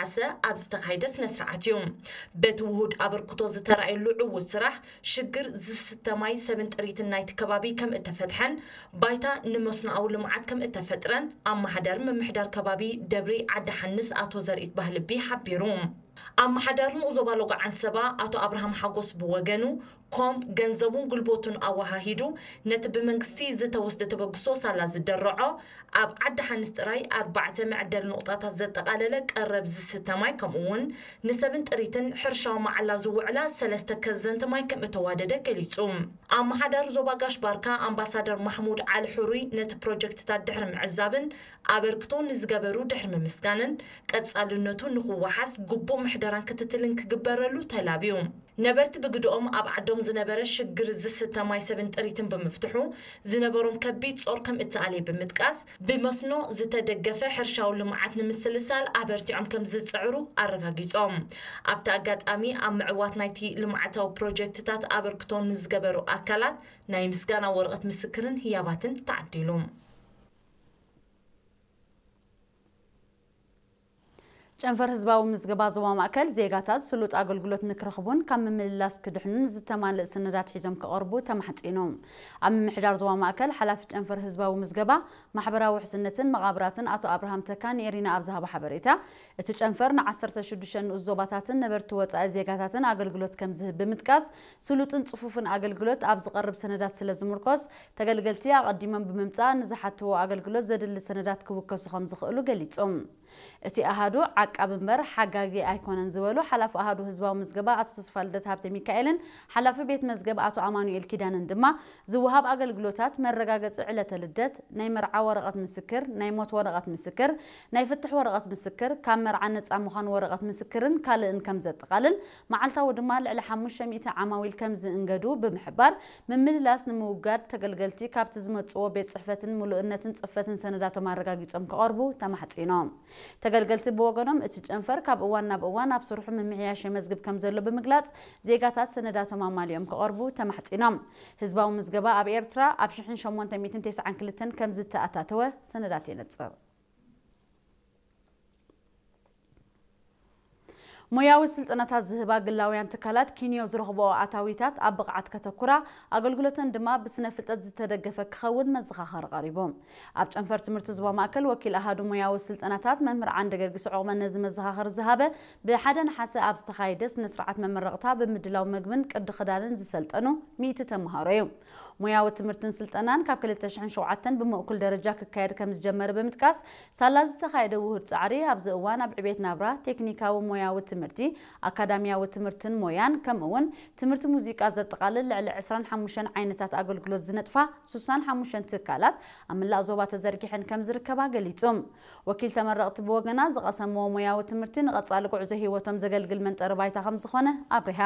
ዓሰ ኣብ ዝተኻየደ ስነ ስርዓት እዩ። በቲ ውሁድ ኣበርክቶ ዝተራእየሉ ዕዉት ስራሕ ሽግር ዝስተ ማይ ሰብን ጥሪትን ናይቲ ከባቢ ከም እተፈትሐን ባይታ ንመስኖኣዊ ልምዓት ከም እተፈጥረን ኣመሓዳሪ ምምሕዳር ከባቢ ደብሪ ዓዲ ሓንስ ኣቶ ዘርኢት ባህልቢ ሓቢሩ። ኣመሓዳሪ ንኡስ ዞባ ሎጎ ዓንሰባ ኣቶ ኣብርሃም ሓጎስ ብወገኑ ኮም ገንዘቡን ጉልበቱን ኣወሃሂዱ ነቲ ብመንግስቲ ዝተወስደ ተበግሶ ሳላ ዝደረዖ ኣብ ዓዲ ሓንስ ጥራይ ኣርባዕተ መዕደሊ ኑቕጣታት ዘጠቓለለ ቀረብ ዝስተ ማይ ከምኡ እውን ንሰብን ጥሪትን ሕርሻዊ መዓላ ዝውዕላ ሰለስተ ከዘንቲ ማይ ከም እተዋደደ ገሊጹ። ኣመሓዳሪ ዞባ ጋሽ ባርካ ኣምባሳደር ማሕሙድ ዓሊ ሕሩይ ነቲ ፕሮጀክትታት ድሕሪ ምዕዛብን ኣበርክቶ ንዝገበሩ ድሕሪ ምምስጋንን ቀጻልነቱ ንኽወሓስ ግቡእ ምሕደራን ክትትልን ክግበረሉ ተላብዩ። ነበርቲ ብግድኦም ኣብ ዓዶም ዝነበረ ሽግር ዝስተ ማይ ሰብን ጥሪትን ብምፍትሑ ዝነበሮም ከቢድ ጾር ከም እተኣልየ ብምጥቃስ ብመስኖ ዝተደገፈ ሕርሻዊ ልምዓት ንምስልሳል ኣበርቲዖም ከም ዝጽዕሩ ኣረጋጊጾም። ኣብቲ ኣጋጣሚ ኣብ ምዕዋት ናይቲ ልምዓታዊ ፕሮጀክትታት ኣበርክቶ ንዝገበሩ ኣካላት ናይ ምስጋና ወረቐት ምስክርን ህያባትን ተዓዲሉ። ጨንፈር ህዝባዊ ምዝገባ ዞባ ማእከል ዜጋታት ስሉጥ ኣገልግሎት ንክረኽቡን ካብ ምምልላስ ክድሕኑን ዝተማልእ ሰነዳት ሒዞም ክቐርቡ ተማሕጺኑ። ኣብ ምምሕዳር ዞባ ማእከል ሓላፊ ጨንፈር ህዝባዊ ምዝገባ ማሕበራዊ ውሕስነትን መቓብራትን ኣቶ ኣብርሃም ተካ ንኤሪና ኣብ ዝሃቦ ሓበሬታ፣ እቲ ጨንፈር ን ዓሰርተ ሽዱሽተ ንኡስ ዞባታትን ነበርቲ ወጻኢ ዜጋታትን ኣገልግሎት ከም ዝህብ ብምጥቃስ፣ ስሉጥን ጽፉፍን ኣገልግሎት ኣብ ዝቐርብ ሰነዳት ስለ ዝምርኮስ፣ ተገልገልቲ ኣቐዲሞም ብምምጻእ ንዝሓትዎ ኣገልግሎት ዘድሊ ሰነዳት ክውከሱ ከም ዝኽእሉ ገሊጹ። እቲ ኣሃዱ ዓቃቢ እምበር ሓጋጊ ኣይኮነን ዝበሉ ሓላፊ ኣሃዱ ህዝባዊ ምዝገባ ኣቶ ተስፋልደት ሃብተ ሚካኤልን ሓላፊ ቤት መዝገብ ኣቶ ኣማኑኤል ኪዳነን ድማ ዝወሃብ ኣገልግሎታት መረጋገጺ ዕለተ ልደት፣ ናይ መርዓ ወረቐት ምስክር፣ ናይ ሞት ወረቐት ምስክር፣ ናይ ፍትሕ ወረቐት ምስክር፣ ካብ መርዓ ነጻ ምዃን ወረቐት ምስክርን ካልእን ከም ዘጠቓልል፣ መዓልታዊ ድማ ልዕሊ ሓሙሽተ ሚእቲ ዓማዊል ከም ዝእንገዱ ብምሕባር፣ ምምልላስ ንምውጋድ ተገልገልቲ ካብቲ ዝመጽዎ ቤት ጽሕፈትን ምሉእነትን ጽፈትን ሰነዳቶም ኣረጋጊጾም ክቐርቡ ተማሕጺኖም። ተገልገልቲ ብወገኖም፣ እቲ ጨንፈር ካብ እዋን ናብ እዋን ኣብ ስርሑ ምምሕያሽ የመዝግብ ከም ዘሎ ብምግላጽ፣ ዜጋታት ሰነዳቶም ኣማሊኦም ክቐርቡ ተማሕጺኖም። ህዝባዊ ምዝገባ ኣብ ኤርትራ ኣብ ሽሕን ሸሞንተ ሚእትን ተስዓን ክልተን ከም ዝተኣታተወ ሰነዳት የነጽር። ሞያዊ ስልጠናታት ዝህባ ግላውያን ትካላት ኪንዮ ዝረኽብኦ ኣታዊታት ኣብ ብቕዓት ከተኩራ፣ ኣገልግሎተን ድማ ብስነ ፍልጠት ዝተደገፈ ክኸውን መዘኻኸሪ ቀሪቡ። ኣብ ጨንፈር ትምህርቲ ዞባ ማእከል ወኪል ኣሃዱ ሞያዊ ስልጠናታት መምህር ዓንደ ገርጊስ ዑቕበ ነዚ መዘኻኸሪ ዝሃበ፣ ብሓደ ነሓሰ ኣብ ዝተኻየደ ስነ ስርዓት መመረቕታ ብምድላው መግብን ቅዲ ክዳንን ዝሰልጠኑ ሚእቲ ተምሃሮ እዩ። ሞያዊ ትምህርትን ስልጠናን ካብ ክልተ ሽሕን ሸውዓተን ብምእኩል ደረጃ ክካየድ ከም ዝጀመረ ብምጥቃስ፣ ሳላ ዝተኻየደ ውሁድ ጻዕሪ ኣብዚ እዋን ኣብ ዕቤት ናብራ፣ ቴክኒካዊ ሞያዊ ትምህርቲ፣ ኣካዳሚያዊ ትምህርትን ሞያን፣ ከምኡ እውን ትምህርቲ ሙዚቃ ዘጠቓልል ልዕሊ ዕስራን ሓሙሽተን ዓይነታት ኣገልግሎት ዝነጥፋ ሱሳን ሓሙሽተን ትካላት ኣብ መላእ ዞባ ተዘርጊሐን ከም ዝርከባ ገሊጹ። ወኪል ተመረቕቲ ብወገና ዝቐሰምዎ ሞያዊ ትምህርቲ ንቐጻሊ ጉዕዞ ህይወቶም ዘገልግል መንጠሪ ባይታ ከም ዝኾነ ኣብሪሃ።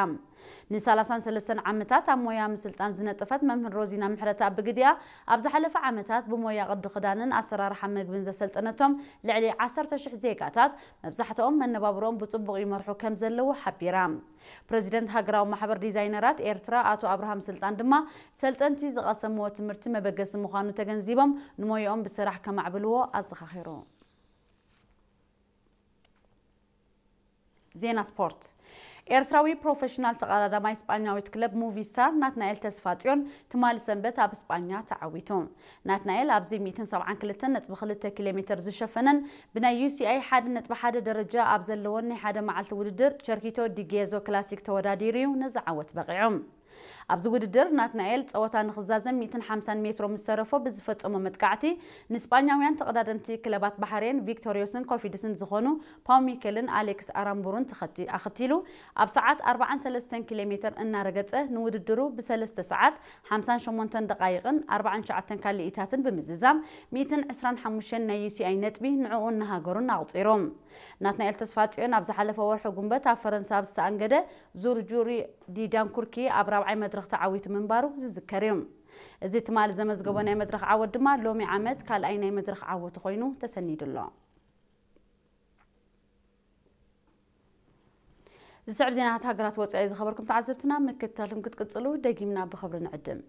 ንሰላሳን ሰለስተን ዓመታት ኣብ ሞያ ምስልጣን ዝነጠፈት መምህር ሮዚና ምሕረተኣብ ብግዲኣ፣ ኣብ ዝሓለፈ ዓመታት ብሞያ ቅዲ ክዳንን ኣሰራርሓ መግብን ዘሰልጠነቶም ልዕሊ ዓሰርተ ሽሕ ዜጋታት፣ መብዛሕትኦም መነባብሮኦም ብጽቡቕ ይመርሑ ከም ዘለዉ ሓቢራ። ፕረዚደንት ሃገራዊ ማሕበር ዲዛይነራት ኤርትራ ኣቶ ኣብርሃም ስልጣን ድማ፣ ሰልጠንቲ ዝቐሰምዎ ትምህርቲ መበገሲ ምዃኑ ተገንዚቦም፣ ንሞያኦም ብስራሕ ከማዕብልዎ ኣዘኻኺሩ። ዜና ስፖርት። ኤርትራዊ ፕሮፌሽናል ተቐዳዳማይ ስጳኛዊት ክለብ ሙቪስታር ናትናኤል ተስፋጽዮን ትማሊ ሰንበት ኣብ ስጳኛ ተዓዊቱ። ናትናኤል ኣብዚ ሚእትን ሰብዓን ክልተን ነጥቢ ክልተ ኪሎ ሜተር ዝሸፈነን ብናይ ዩ ሲ ኣይ ሓደ ነጥቢ ሓደ ደረጃ ኣብ ዘለዎን ናይ ሓደ መዓልቲ ውድድር ቸርኪቶ ዲ ጌዞ ክላሲክ ተወዳዲሩ እዩ ነዚ ዓወት በቒዑ። ኣብዚ ውድድር ናትናኤል ጸወታ ንኽዛዘም ሚእትን ሓምሳን ሜትሮ ምስ ተረፎ ብዝፈጸሞ መጥቃዕቲ ንስጳኛውያን ተቐዳደምቲ ክለባት ባሕሬን ቪክቶሪዮስን ኮፊድስን ዝኾኑ ፓው ሚኬልን ኣሌክስ ኣራምቡሩን ተኸቲ-፣ ኣኸቲሉ ኣብ ሰዓት ኣርባዓን ሰለስተን ኪሎ ሜተር እናረገጸ ንውድድሩ ብሰለስተ ሰዓት ሓምሳን ሸሞንተን ደቓይቕን ኣርባዓን ትሽዓተን ካልኢታትን ብምዝዛም ሚእትን ዕስራን ሓሙሽተን ናይ ዩ ሲ ኣይ ነጥቢ ንዕኡን ንሃገሩን ኣቑጺሩ። ናትናኤል ተስፋጽዮን ኣብ ዝሓለፈ ወርሒ ጉንበት ኣብ ፈረንሳ ኣብ ዝተኣንገደ ዙር ጁሪ ዲ ዳንኩርኪ ኣብ ራብዓይ መድረኽ ተዓዊቱ ምንባሩ ዝዝከር እዩ። እዚ ትማሊ ዘመዝገቦ ናይ መድረኽ ዓወት ድማ ሎሚ ዓመት ካልኣይ ናይ መድረኽ ዓወቱ ኮይኑ ተሰኒዱ ኣሎ። ዝስዕብ ዜናታት ሃገራት ወጻኢ ዝኸበርኩም ተዓዘብትና ምክትታልኩም ክትቅጽሉ ደጊምና ብኽብሪ ንዕድም።